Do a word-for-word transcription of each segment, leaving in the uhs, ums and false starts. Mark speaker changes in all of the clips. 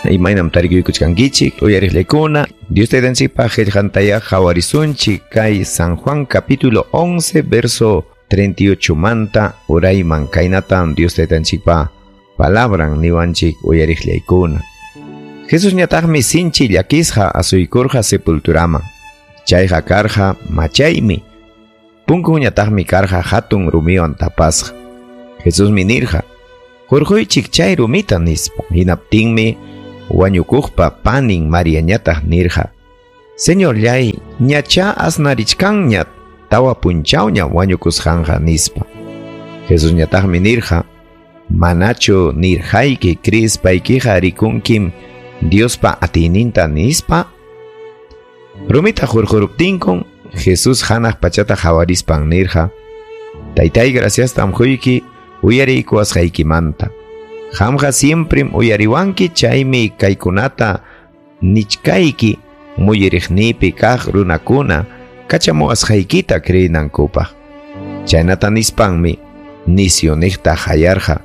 Speaker 1: Imaynam tarikuykuchkankichik uyariqllaykuna Dios taytanchikpa qillqantaya qhawarisunchik kay San Juan capítulo once verso treinta y ocho manta urayman kaynatam Dios taytanchikpa palabran niwanchik uyariqllaykuna. Jesus ñataqmi sinchi llakisqa asuykurqa sepulturaman. Chayqa karqa machaymi. Punkuñataqmi karqa hatun rumiwan tapasqa. Jesusmi nirqa, hurquychik chay rumita nispa. Hinaptinmi wañukuqpa panin Mariañataq nirqa, Señorllay, ñacha asnarichkanña tawa punchawña wañukusqanqa nispa. Jesusñataqmi nirqa, manachu nirqayki krispaykiqa rikunkim Diospa atiyninta nispa. Rumita hurquruptinkun Jesús hanaq pachata hawarispan nirqa, Taytay, graciastam quyki uyariykuwasqaykimanta. Qamqa siemprem uyariwanki, chaymi kaykunata nichkayki muyuriqniypi kaq runakuna kachamuwasqaykita creenankupaq. Chaynata nispanmi nisyuniqta hayarqa,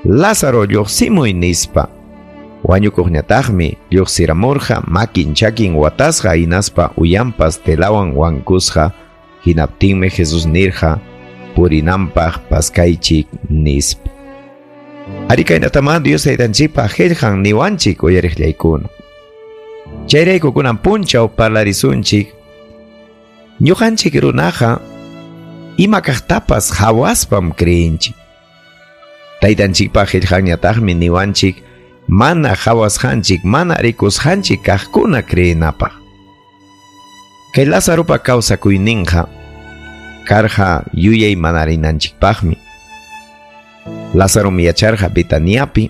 Speaker 1: Lázaro lluqsimuy nispa. Wañukuqñataqmi lluqsiramurqa makin chakin watasqa hinaspa uyanpas telawan wankusqa. Hinaptinmi Jesús nirqa, purinanpaq paskaychik nispa. Ari kaynatama Dios taytanchikpa qillqan niwanchik uyariqllaykuna. Chayrayku kunan punchaw parlarisunchik ñuqanchik runaqa ima kaqtapas hawaspam creenchik. Taytanchikpa qillqanñataqmi niwanchik mana hawasqanchik, mana rikusqanchik kaqkuna creenapaq. Kay Lázaropa kawsakuyninqa karqa yuyay manarinanchikpaqmi. Lázarom yacharqa Betaniapi,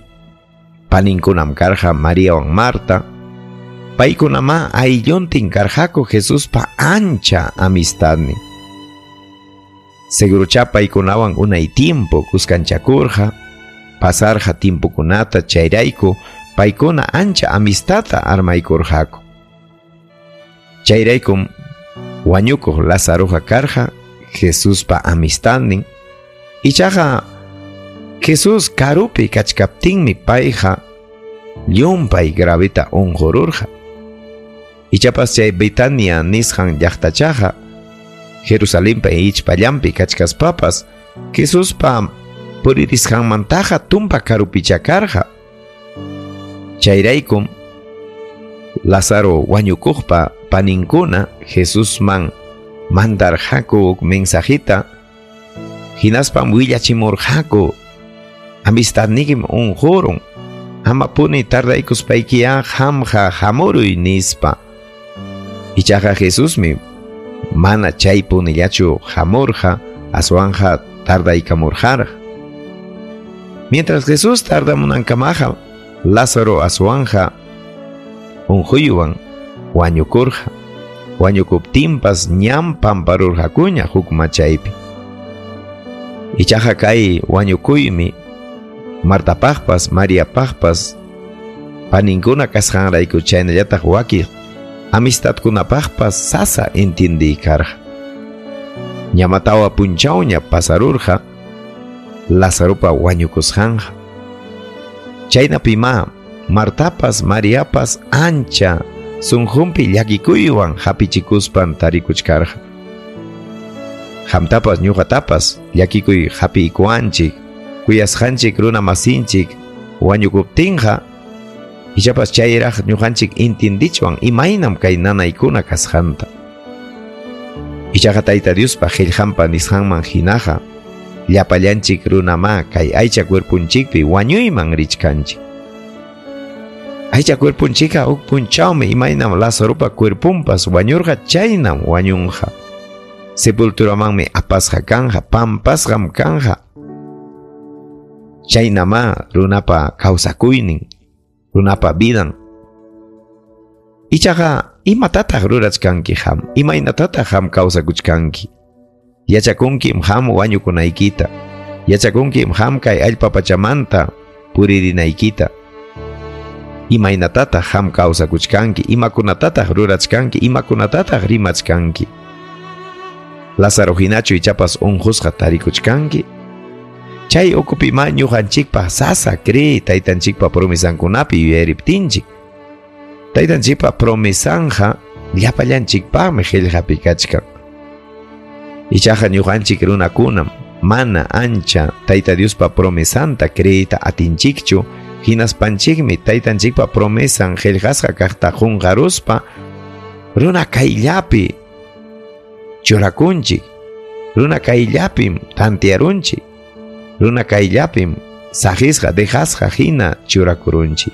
Speaker 1: paninkunam karqa Mariawan Marta, paykunama aylluntin karqaku Jesuspa ancha amistadnin. Seguruchá paykunawan unay tiempo kuskanchakurqa, pasarqa tiempokunata chayrayku paykuna ancha amistadta armaykurqaku. Chayraykum wañukuq Lázaroqa karqa Jesuspa amistadnin. Ichaqa Jesús karupi kachkaptinmi payqa llumpay gravita unqururqa. Ichapas chay Betania nisqan llaqtachaqa Jerusalenpa ichpallanpi kachkaspapas Jesuspa puririsqanmantaqa tumpa karupicha karqa. Chayraykum Lázaro wañukuqpa paninkuna Jesusman mandarqaku mensajita, hinaspam willachimurqaku amistadnikim unqurun, amapuni tardaykuspaykiya qamqa hamuruy nispa. Ichaqa Jesusmi mana chay punillachu hamurqa, aswanja tardaykamurqaraq. Mientras Jesús tardamunankamaqa, Lázaro aswanja unquywan wañukurqa. Wañukuptinpas ñam pamparurqakuña huk machaypi. Ichaqa kay wañukuymi Martapaqpas, Mariapaqpas, paninkuna kasqanrayku chaynallataq wakiq amistadkunapaqpas sasa entindiy karqa. Ñama tawa punchawña pasarurqa Lázaropa wañukusqanqa. Chaynapimá Martapas, Mariapas ancha sunqunpi llakikuywan hapichikuspan tarikuchkarqa. Qamtapas ñuqatapas llakikuy hapiykuwanchik, kuyasqanchik runa masinchik wañukuptinqa ichapas chayraq ñuqanchik intindichwan imaynam kay nanaykuna kasqanta. Ichaqa Tayta Diospa qillqanpa nisqanman hinaqa llapallanchik runamá kay aycha cuerpunchikpi wañuyman richkanchik. Aycha cuerpunchikqa huk punchawmi imaynam Lázaropa cuerpunpas wañurqa chaynam wañunqa. Sepulturamanmi apasqa kanja, pampasqam kanja. Chaynamá runapa kawsakuynin, runapa vidan. Ichaqa imatataq rurachkanki qam, imaynatataq qam kawsakuchkanki. Yachakunkim qam wañukunaykita, yachakunkim qam kay allpa pachamanta puririnaykita. Imaynatataq qam kawsakuchkanki, imakunatataq rurachkanki, imakunatataq rimachkanki. Lázaro hinachu ichapas unqusqa tarikuchkanki. Chay ukupi ma ñuqanchikpaq sasa cree taytanchikpa promesankunapi yuyariptinchik. Taytanchikpa promesanja llapallanchikpaqmi qillqapi kachkan. Ichaqa ñuqanchik runakunam mana ancha Tayta Diospa promesanta creeyta atinchikchu, hinaspanchikmi taytanchikpa promesan qillqasqa kaqta qunqaruspa runa kayllapi churakunchik, runa kayllapim tantearunchik, runa kayllapim saqisqa dejasqa hina churakurunchik.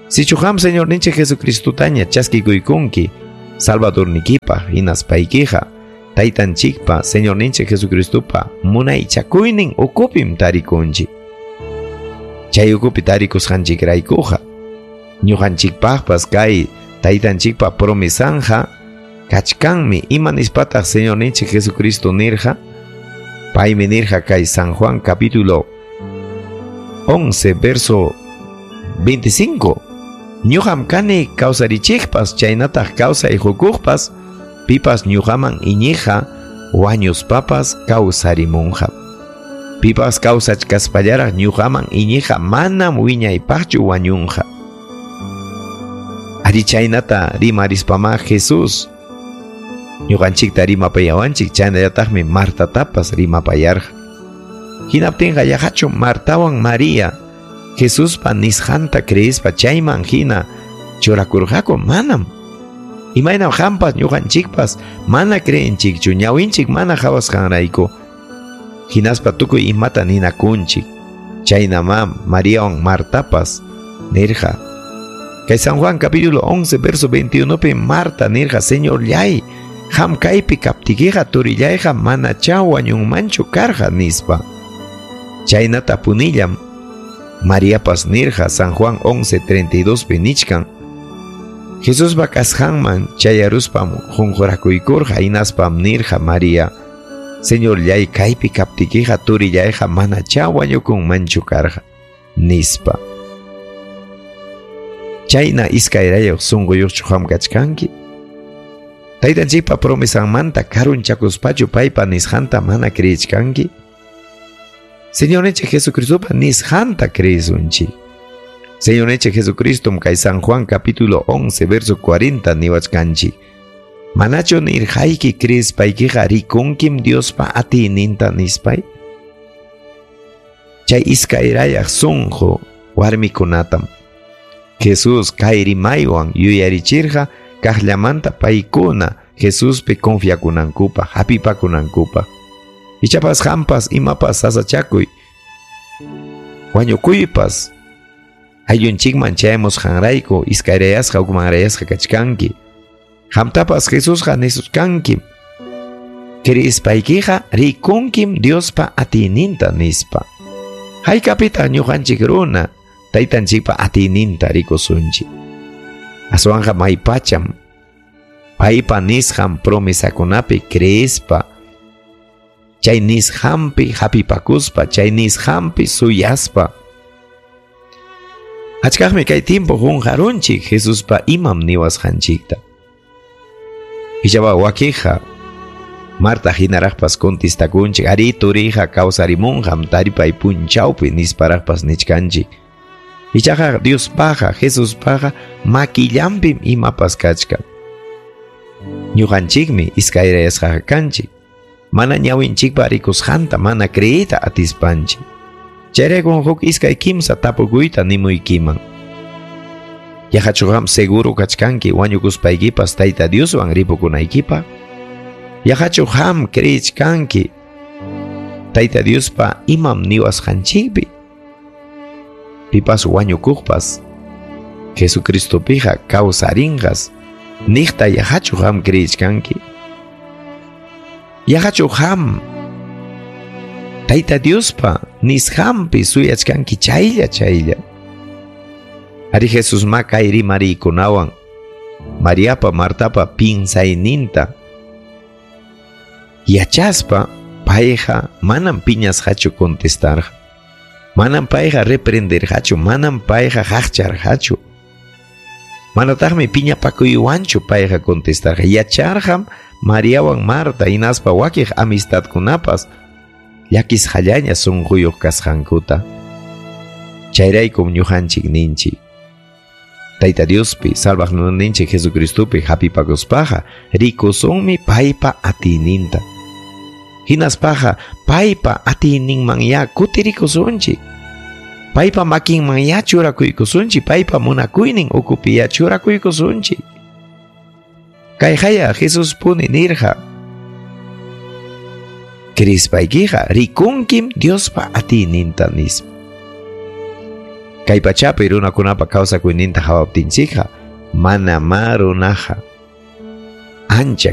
Speaker 1: Sichu qam Señorninchik Jesucristutaña chaskikuykunki Salvadornikipaq hinaspaykiqa Taytanchikpa Señorninchik Jesucristupa munaychakuynin ukupim tarikunchik. Chay ukupi tarikusqanchikraykuqa ñuqanchikpaqpas kay Taytanchikpa promesanja kachkanmi. Ima nispataq Señorninchik Jesucristo nirqa? Paymi nirqa kay San Juan capítulo once verso veinticinco. Ñuqam kani kawsarichikpas chaynataq kawsay hukuqpas, pipas ñuqaman iñiqa wañuspapas kawsarimunqa. Pipas kawsachkaspallaraq ñuqaman iñiqa manam wiñaypaqchu wañunqa. Ari chaynata rimarispama Jesús ñuqanchikta rimapayawanchik, chaynallataqmi Martatapas rimapayarqa. Hinaptinqa yaqachu Martawan María Jesuspa nisqanta creespa chayman hina churakurqaku? Manam. Imaynam qampas ñuqanchikpas mana creenchikchu, ñawinchik mana qhawasqanrayku hinaspa tukuy imata ninakunchik. Chaynamá Mariawan Martapas nirqa. Kay San Juan capítulo once verso veintiuno pi Marta nirqa: Señorllay, qam kaypi kaptikiqa turillayqa manachá wañunmanchu karqa, nispa. Chaynata punillam Mariapas nirqa. San Juan once treinta y dos pi nichkan: Jesuspa kasqanman chayaruspam qunqurakuykurqa, hinaspam nirqa María: Señorllay, kaypi kaptikiqa turillayqa manachá wañukunmanchu karqa, nispa. Chayna iskayrayuq sunquyuqchu qam kachkanki? Taytanchikpa promesanmanta karunchakuspachu paypa nisqanta mana creechkanki? Señorninchik Jesucristopa nisqanta creesunchik. Señorninchik Jesucristom kay San Juan capítulo once verso cuarenta niwachkanchik: Manachu nirqayki creespaykiqa rikunkim Diospa atiyninta, nispay? Chay iskayrayaq sunqu warmikunatam Jesús kay rimaywan yuyarichirqa kaqllamanta paykuna Jesuspi confiakunankupaq, hapipakunankupaq. Ichapas qampas imapas sasachakuy wañukuypas ayllunchikman chayamusqanrayku iskayrayasqa hukmanrayasqa kachkanki. Qamtapas Jesusqa nisuchkankim: Creespaykiqa rikunkim Diospa atiyninta, nispa. Haykapitaq ñuqanchik runa taytanchikpa atiyninta rikusunchik? Aswanqa maypacham paypa nisqan promesakunapi creespa, chay nisqanpi hapipakuspa, chay nisqanpi suyaspa. Achkaqmi kay tiempo qunqarunchik Jesuspa imam niwasqanchikta. Ichaqa wakinqa Marta hinaraqpas contestakunchik: Ari turiyqa kawsarimunqam taripay punchawpi, nisparaqpas nichkanchik. Ichaqa Diospaqa, Jesuspaqa makillanpim imapas kachkan. Ñuqanchikmi iskayrayasqaqa kanchik, mana ñawinchikpa rikusqanta mana creeyta atispanchik. Chayraykun huk iskay kimsa tapukuyta nimuykiman. Yaqachu qam seguro kachkanki wañukuspaykipas Tayta Dioswan ripukunaykipaq? Yaqachu qam creechkanki Tayta Diospa imam niwasqanchikpi? Pipas wañukuqpas Jesucristopiqa kawsarinqas niqta yaqachu qam creechkanki? Yaqachu qam Tayta Diospa nisqanpi suyachkanki chaylla chaylla? Ari Jesusma kay rimariykunawan Mariapa Martapa pinsayninta yachaspa payqa manam piñasqachu contestarqa, manam payqa reprenderqachu, manam payqa qaqcharqachu, manataqmi piñapakuywanchu payqa contestarqa. Yacharqam Mariawan Marta hinaspa wakiq amistadkunapas llakisqallaña sunquyuq kasqankuta. Chayraykum ñuqanchik ninchik. Tayta Diospi, salvaqninchik Jesucristopi hapipakuspaqa rikusunmi paypa atiyninta. Hinaspaqa paypa atiyninmanya kutirikusunchik. Paypa makinmanya churakuykusunchik, paypa munakuynin ukupiya churakuykusunchik. Kayqaya Jesus puni nirqa. Krispaykiqa rikunkim Diospa atiyninta nispa. Kay pachapi runakunapa kawsakuyninta hawaptinchikqa mana ma runaqa ancha